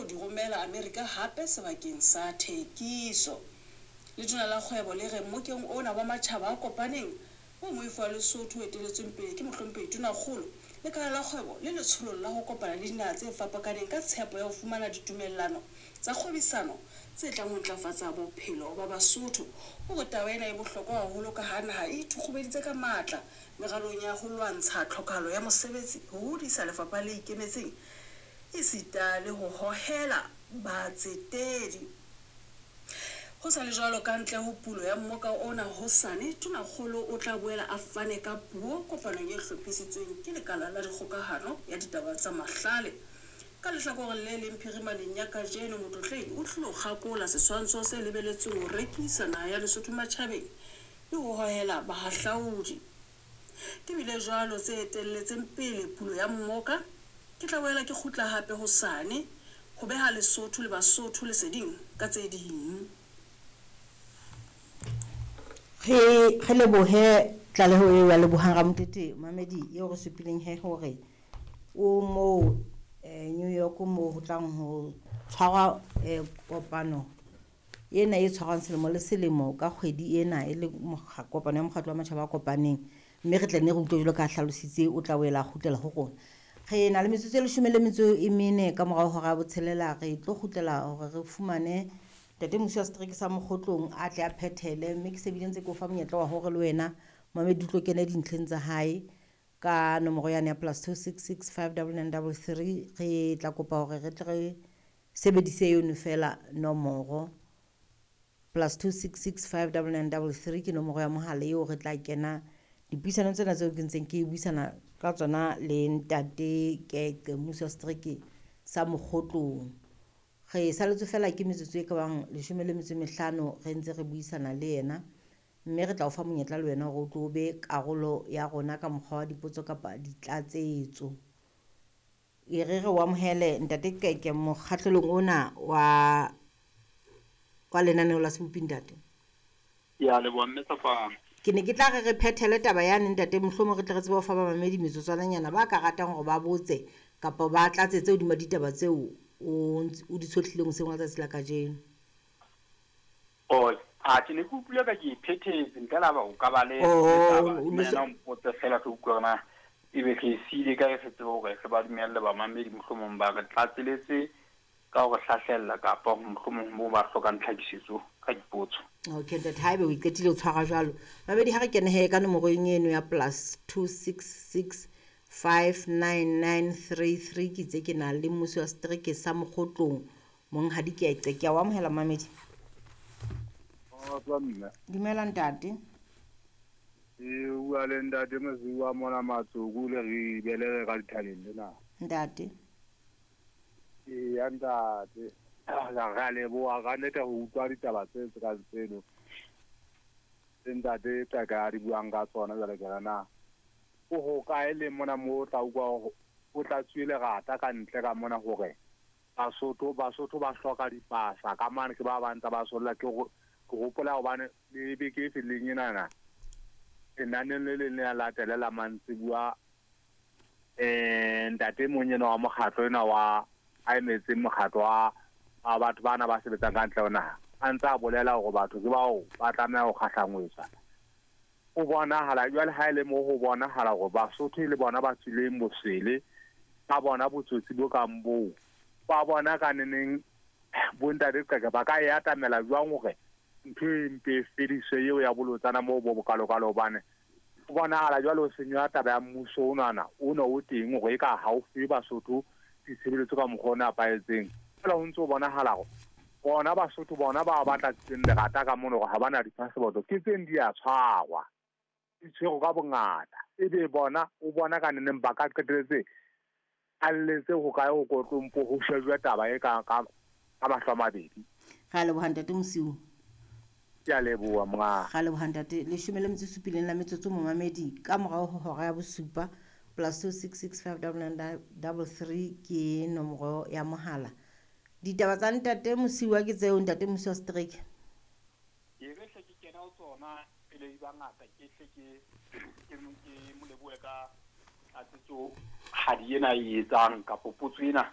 di romela Amerika hape sebakeng sa thekiso. Letona la Kgwebo le re mmokeng ona wa Matjhaba a Kopaneng oo moifo wa Lesotho o eteletsweng pele ke Mohlomphehi Tonakgolo, Lekala la Kgwebo le letsholong la ho kopana le dinaha tse fapakaneng ka tshepo ya ho fumana ditumellano tsa kgwebisano tse tlang ho ntlafatsa bophelo ba Basotho. O re taba ena e bohlokwa haholo ka ha naha e ithukgubeditse ka matla meralong ya ho lwantsha tlhokahalo ya mosebetsi, ho hodisa lefapha le ikemetseng esita le ho hohela batsetedi. Ho sa le jwalo, ka ntle ho pulo ya mmoka ona hosane, Tonakgolo o tla boela a fane ka puo kopanong e hlophisitsweng ke Lekala la Dikgokahano ya Ditaba tsa Mahlale. Ka lehlakoreng le leng, phirimaneng ya kajeno, Motlotlehi o tlilo kgakola setshwantsho se lebeletsweng ho rekisa naha ya Lesotho matjhabeng le ho hohela bahahlaudi. Di bile jwalo tse etelletseng pele pulo ya mmoka. Ke tla boela ke kgutla hape hosane ho beha Lesotho le Basotho leseding ka tse ding. Re re lebohe tlaleho eo ya Lebohang Ramotete Mamedi eo re supileng he hore o moo New York moo ho tlang ho tshwarwa kopano ena e tshwarwang selemo le selemo ka kgwedi ena e le kopano ya mokgatlo wa matjhaba a kopaneng mme re tla nne re utlwe jwalo ka hlalositse o tla boela a kgutlela ho rona. Re na le metsotso e leshome le metso e mene ka morao hora ya botshelela re tlo kgutlela hore re fumane Ntate Mmusi wa setereke sa Mokgotlong a tle a phethele mme ke se bile ntse ke o fa monyetla wa hore le wena Mamedi o tlo kene dintlheng tsa hae ka nomoro yane ya plus 266 59933 re tla kopa hore re tle re sebedise yono fela nomoro plus 266 59933 ke nomoro ya mohala eo re tla kena dipuisanong tsena tseo ke ntseng ke buisana ka tsona le ntate Keqe mmusi wa setereke sa Mokgotlong. Re saletswe fela ke metsotso e ka bang leshome le metso e mehlano re ntse re buisana le yena mme re tla o fa monyetla le wena hore o tlo be karolo ya rona ka mokgwa wa dipotso kapa ditlatsetso. E re re o amohele ntate Qeke mokgahlelong ona wa wa lenaneo la Sebopi ntate. Ke a leboha mme Sefang. Ke ne ke tla re re phethele taba yane ntate mohlomong re tle re tsebe ho fa bamamedi metsotswananyana ba ka ratang hore ba botse kapa ba tlatsetse hodima ditaba tseo o o di tshohlileng hoseng wa tsatsi la kajeno. Oh, a ke ne ke utlwile ka ke e phethetse ntle le ha o ka ba le Oh, taba o ne wena o mpotse fela re utlwe hore na ebe re e siile kae re tsebe hore re ba dumelle bamamedi mohlomong ba re tlatseletse ka ho re hlahlella kapa mohlomong moo ba hlokang tlhakisetso ka dipotso. Okay ntate haebe o iqetile o tshwara jwalo. Mamedi ha re kene he ka nomorong eno ya plus 266 59933 ke itse ke na le mmusi wa setereke sa Mokgotlong Monghadi Keqe. Ke a o amohela Mamedi. Kgotso mme. Dumela ntate. E bua le ntate Mosiuwa mona Matsoku le re belege ka dithabeng lena. Ntate. Eya ntate. Re a leboha ka nnete ho utlwa ditaba tse tse kang tseno. Tse ntate Qaka a di buang ka tsona jwale ke re na. O hokae le mona mo o tla utlwa hore o tlatsuwe lerata ka ntle ka mona hore Basotho Basotho ba hloka dipasa ka mane ke ba bang tsa ba solla ke ke hopola hobane le beke e fetileng enana lenaneng le leng le ya latele la mantsibuwa ntate e mong enwa wa mokgatlo enwa wa a emetseng mokgatlo wa wa batho bana ba sebetsang ka ntle ho naha a ntse a bolela hore batho ke bao ba tlameha ho kgahlangwetswa. Ho bonahala jwale ha e le mo ho bonahala hore Basotho e le bona ba tswileng bosele ka bona botsotsi bo kang boo ba bona ka neneng bo ntate Qeke ba ka e atamela jwang hore ntho e mpe e fediswe eo ya bolotsana moo bo bokalokalo hobane ho bonahala jwale ho senywa taba ya mmuso onana ona o teng hore e ka ha o fe Basotho ditshebeletso ka mokgwa o nepahetseng. Fela ho ntse ho bonahala hore bona Basotho bona ba ba tlatsitseng lerata ka mono hore ha bana di-passport ke tseng di a tshwarwa di tshwerwe ka bongata ebe bona o bona ka neneng ba ka qetelletse a lletse ho kae ho kotlompo ho shejwe taba e ka ka ka mahlo a mabedi. Re a leboha ntate Mosiu. Ke a leboha monga. Ra leboha ntate. Leshome le metso e supileng la metsotso momamedi ka morao ho hora ya bosupa plus 266 59933 ke nomoro ya mohala. Ditaba tsa ntate Mosiuwa ke tseo ntate Mosiuwa setereke. E re hle ke kena ho tsona pele di ba ngata ke hle ke ke ke mo lebohe ka tlatsetso hadi ena e etsang kapo potso ena